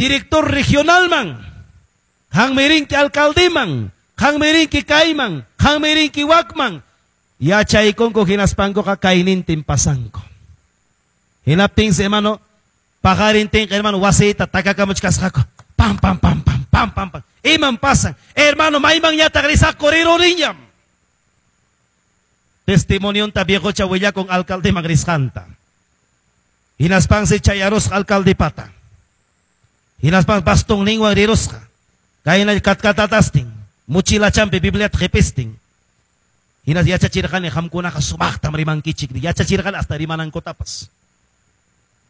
Director regionalman, qanmi rinki alcaldeman, qanmi rinki kayman, qanmi rinki wakman. Yachaykunku hinaspankuqa kaynintin pasanku. Hinaptinsi, hermano, paqarintinqa, hermano, wasiyta takakamuchkasqaku. Pam, pam, pam, pam, pam, pam, pam. Iman pasan? Hermano, maymanñataq risaqku riruriñam. Testimonionta viejocha willakun alcaldeman risqanta. Hinaspansi chayarusqa alcaldepata. Hinaspan bastonninwan rirusqa. Kayna katkatatastin, mochilachampi Bibliata qipistin. Hinas yachachirqani qamkunaqa sumaqtam rimankichik, yachachirqani hasta rimanankutapas.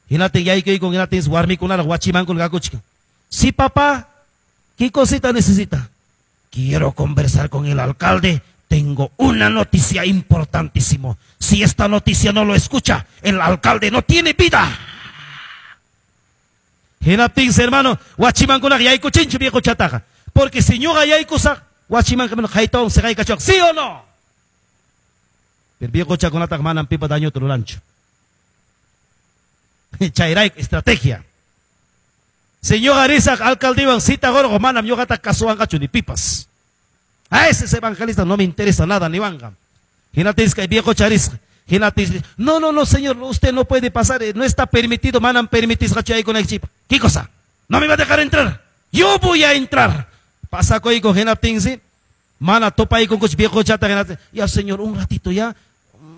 Hinatin yaykuykun, hinatin warmikunaraq wachimankuna kakuchkan. Sí, papá, ¿qué cosita necesita? Quiero conversar con el alcalde. Tengo una noticia importantísimo. Si esta noticia no lo escucha, el alcalde no tiene vida. Hinaptinsi, hermano, wachimankunaqa yaykuchinchu viejochataqa. Porque si ñuqa yaykusaq, wachimanqa haytawan siqaykachuwaq, ¿sí o no? Pero viejochakunataqa manam pipa dañuta ruranchu. Chayrayku estrategia. Si ñuqa risaq alcaldewan cita qurqu, manam ñuqata kasuwanqachu ni pipas. A ese evangelista no me interesa nada niwanqa. Hinaptinsi kay viejocha risqa. Hinaptinsi, no, no, no, señor, usted no puede pasar, no está permitido, manam permitisqachu yaykunaykichikpaq. ¿Qué cosa? No me va a dejar entrar. Yo voy a entrar. Pasakuyku hinaptinsi, mana tupaykunkuchu viejochata hinaptin, ya señor, un ratito ya,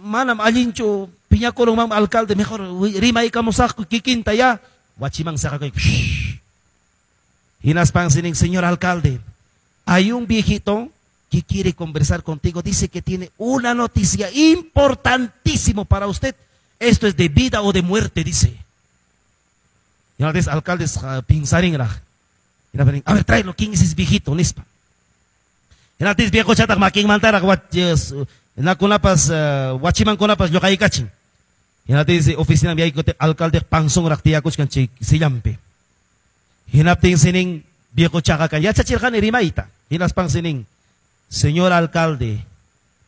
manam allinchu piñakurunman alcalde, mejor rimaykamusaqku kikinta ya. Wachiman saqakuyku. Hinaspansi nin, señor alcalde, hay un viejito que quiere conversar contigo, dice que tiene una noticia importantísimo para usted. Esto es de vida o de muerte, dice. Y ahora dice, alcalde, pinsarinraq. A ver, tráelo, ¿quién es ese viejito? Nispa. Hinaptinsi viejochataq makinmantaraq nakunapas wachimankunapas lluqaykachin. Hinaptinsi oficina yaykutin alcalde panzonraq tiyakuchkan chay sillampi. Hinaptinsi nin viejochaqa kan yachachirqani rimayta. Hinaspansi nin, señor alcalde,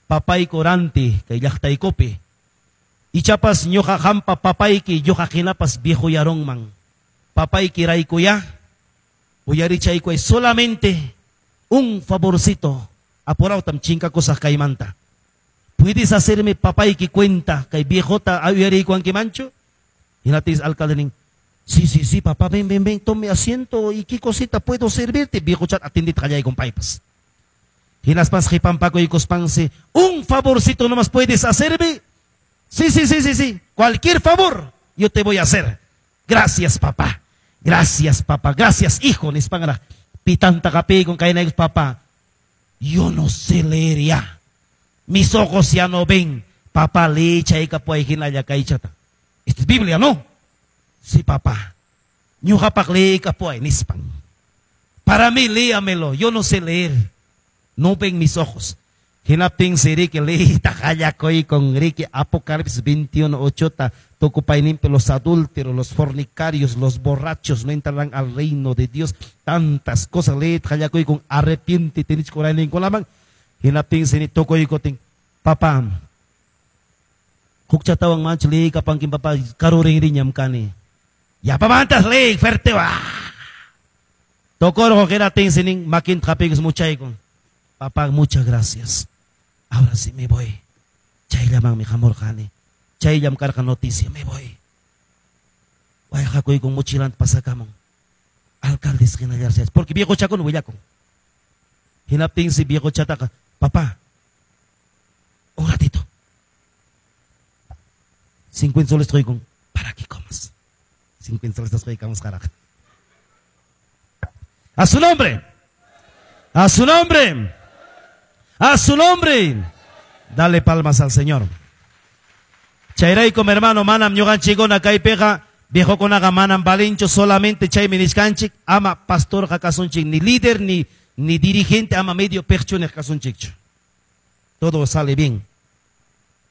papayku ranti kay llaqtaykupi. Ichapas ñuqa qampa papayki ñuqa hinapas viejoyarunman. Papayki raykuya uyarichaykuay solamente un favorcito. Apurawtam chinkakusaq kaymanta. ¿Puedes hacerme papayki cuenta kay viejota uyariykuankimanchu? Hinaptinsi alcalde nin, sí, sí, sí, papá, ven, ven, ven, tome asiento y qué cosita puedo servirte. Viejo chat atendita qallaykun paypas. Hinaspas qipampakuykuspansi, un favorcito nomás puedes hacerme. Sí, sí, sí, sí, sí. Cualquier favor yo te voy a hacer. Gracias, papá. Gracias, papá. Gracias, hijo. Nispanraq pitanta qapikun kaynaykus, papá. Yo no sé leer ya. Mis ojos ya no ven. Papá, lee chaykapuay hinalla kaychata. Esta es Biblia, ¿no? Sí, papá. Ñuqapaq leeykapuay nispan. Para mí, léamelo. Yo no sé leer. No ven mis ojos. Hinaptinsi riki leeyta qallakuykun riki Apocalipsis 21:8 tukupayninpi los adúlteros, los fornicarios, los borrachos no entrarán al reino de Dios. Tantas cosas leeyta qallakuykun arrepiéntete nichkurayninkunaman. Hinaptinsi ni tukuykutin, papá, hukchatawan manchu leeykapankin papá, karurinriñam kani. Yapamantas leey fuerte wa. Tukurqo hinaptinsi nin makinta hapiykus muchaykun. Papá, muchas gracias. Ahora sí me voy. Chayllamanmi hamurqani. Chayllam karqa noticia, me voy. Wayqakuykun mochilanta pasakamun. Alcaldes hinallarse. Porque viejochakuna willakun. Hinaptinsi viejochataqa, papá, un ratito. 50 soles qoykun para que comas. 50 soles qoykamus qaraq. A su nombre. A su nombre. A su nombre. Dale palmas al Señor. Chayraykum, hermano, manam ñuqanchikkuna kaypiqa viejokunaqa manam valinchu solamente chaymi nichkanchik, ama pastorqa kasunchik, ni líder ni dirigente, ama medio perchuniq kasunchikchu. Todo sale bien.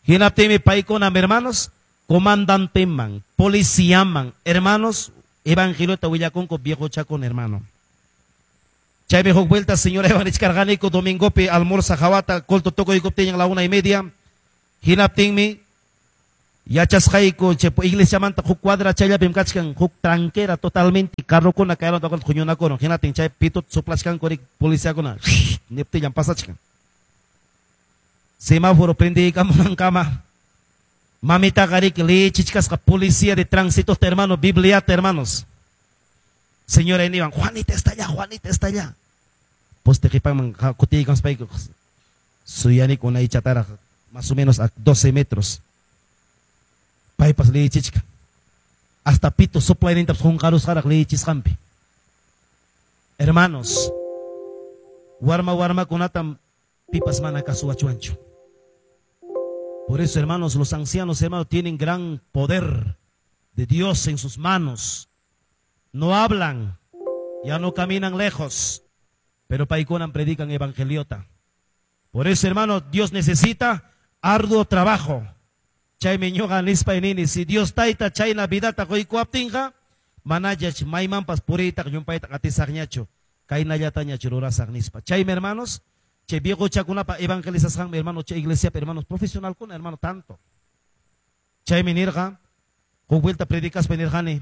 Hinaptinmi paykuna, hermanos, comandanteman, policiaman, hermanos, evangeliota willakunku viejochakuna, hermano. Chaymi huk vuelta, señora, nichkarqaniku domingopi almuerza hawata, culto tukuykuptin a la 1:30. Hinaptinmi Yachasqayku chay iglesiamanta huk cuadra chayllapim kachkan huk tranquera totalmente carrokuna kayranta huñunakurun hinatin chay pitut soplachkanku rik policiakuna niptillan pasachkan. Semáforo prendiykamunankama mamitaqa riki lichichkasqa policía de tránsito hermano, Bibliata hermanos. Señora niwan, Juanita está allá, Juanita está allá. Poste qipanman kutiykaspayku suyaniku unaychataraq más o menos a 12 metros. Paypas lichichka. Hasta pito soplaynintapas qunqarusqaraq lichisqanpi. Hermanos, warma warmakunatam pipas mana kasuwachuanchu. Por eso, hermanos, los ancianos, hermanos, tienen gran poder de Dios en sus manos. No hablan, ya no caminan lejos, pero paykunan predican evangeliota. Por eso, hermano, Dios necesita arduo trabajo. Chaymi ñuqa nispay nini, si Dios tayta chayna vidata quykuwaptinqa, manachach maymanpas puriytaq llumpaytaq atisaqñachu, kaynallatañachu rurasaq nispa. Chaymi, hermanos, chay viejochakunapa evangelizasqanmi, hermano, chay iglesiapi, hermanos, profesionalkuna, hermano, tanto. Chaymi nirqa, huk vuelta predicaspa nirqani,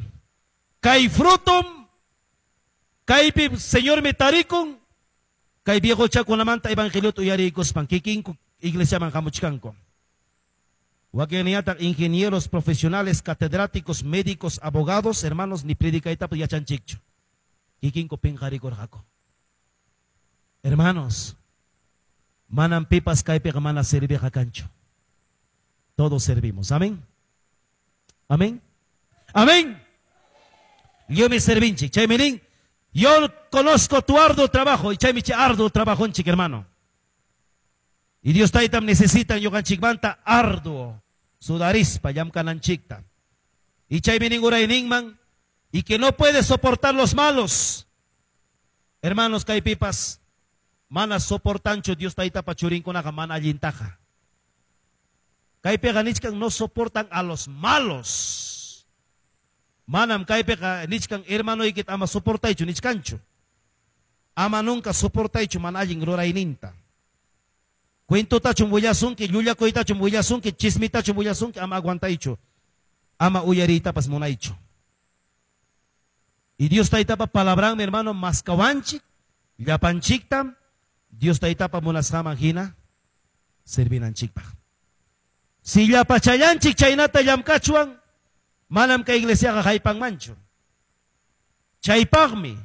kay frutum, kaypi Señormi tarikun, kay viejochakunamanta evangeliota uyariykuspan, kikinku iglesiaman hamuchkanku. Wakinñataq ingenieros profesionales, catedráticos, médicos, abogados, hermanos, ni predicaytapas yachanchikchu. Kikinku pinqarikurqaku. Hermanos, manam pipas kaypiqa mana serviqa kanchu. Todos servimos. Amén. Amén. Amén. Yo me servinchik. Chaymi nin, yo conozco tu arduo trabajo. Y chaymi chay arduo trabajonchik, hermano. Y Dios taytam necesitan ñuqanchikmanta arduo sudarispa llamkananchikta. Y chaymi nin urayninman, y que no puede soportar los malos. Hermanos, kaypipas mana soportanchu Dios taytapa churinkunaqa mana allintaqa. Kaypiqa nichkan no soportan a los malos. Manam kaypiqa nichkan hermanoykita ama soportaychu nichkanchu. Ama nunca soportaychu mana allin rurayninta. Cuentotachum willasunki, llullakuytachum willasunki, chismitachum willasunki, ama aguantaychu. Ama uyariytapas munaychu. Y Dios taytapa palabran, mi hermano, maskawanchik, llapanchiktam, Dios taytapa munasqaman hina servinanchikpaq. Si llapachallanchik chaynata llamkachwan, manam kay iglesiaqa haypanmanchu. Chaypaqmi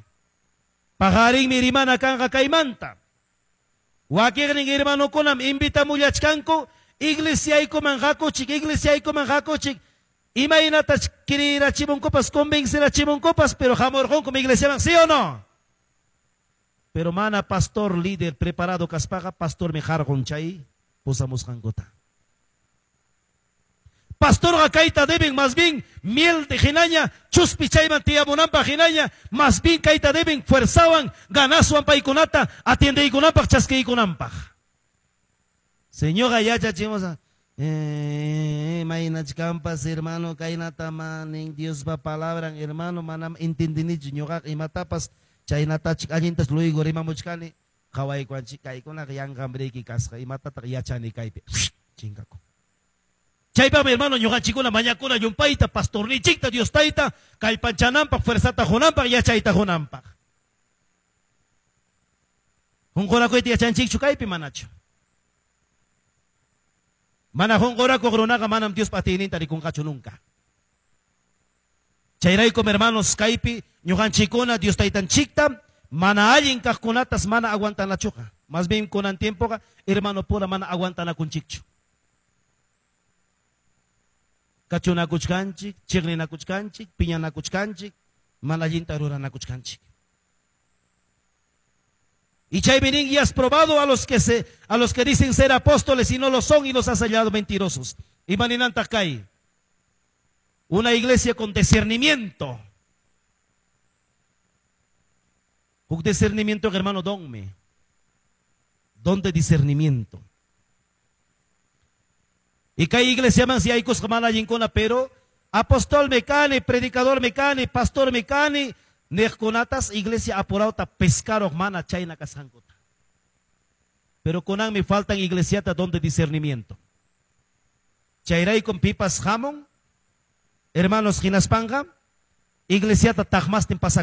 paqarinmi rimana kanqa kaymanta. Wakiqnin hermanokunam invitamullachkanku, iglesiaykuman hakuchik, iglesiaykuman hakuchik. Imaynatach kirirachimunkupas, convencerachimunkupas, pero hamurqunkum iglesiaman, ¿sí o no? Pero mana pastor líder preparado kaspaqa, pastormi harqun chay pusamusqankuta. Pastorqa kayta deben más bien miel de hinaña, chuspi chayman tiyamunanpaq hinaña, más bien kayta deben fuerzawan, ganaswan paykunata, atiendeykunanpaq, chaskiykunanpaq. Señora yachachimos, maynachkampas hermano, kaynata manin Diospa palabran, hermano, manam entendinichu ñuqaqa imatapas chaynatachik allintas luego rimamuchkani, qhawaykuanchik kaykunaqa yanqamriyki kasqa, imatataq yachani kaypi, chinkaku. Chaypami hermano ñuqanchikuna mañakuna llumpayta pastornichikta Dios tayta kallpanchananpaq fuerzata qunanpaq yachayta qunanpaq. Hunqurakuyta yachanchikchu kaypi manachu. Mana hunqurakuq runaqa manam Diospa atiyninta rikunqachu nunca. Chayraykum hermanos kaypi ñuqanchikuna Dios taytanchikta mana allin kaqkunatas mana aguantanachuqa. Más bien kunan tiempoqa hermano pura mana aguantanakunchikchu. Kachunakuchkanchik, chiqninakuchkanchik, piñanakuchkanchik, mana allinta ruranakuchkanchik. Y chaymi nin, y has probado a los que dicen ser apóstoles y no lo son y los has hallado mentirosos. Y maninantaq kay. Una iglesia con discernimiento. Huk discernimiento, hermano, donme. Don de discernimiento. Y kay iglesia man si hay cosas mana allinkuna, pero apóstol me kani, predicador me kani, pastor me kani, niqkunatas iglesia apurauta pescaroq mana chayna kasqankuta. Pero kunan me faltan iglesiata don de discernimiento. Chayraykum pipas hamun, hermanos, hinaspanqa iglesiata taqmastin pasakun.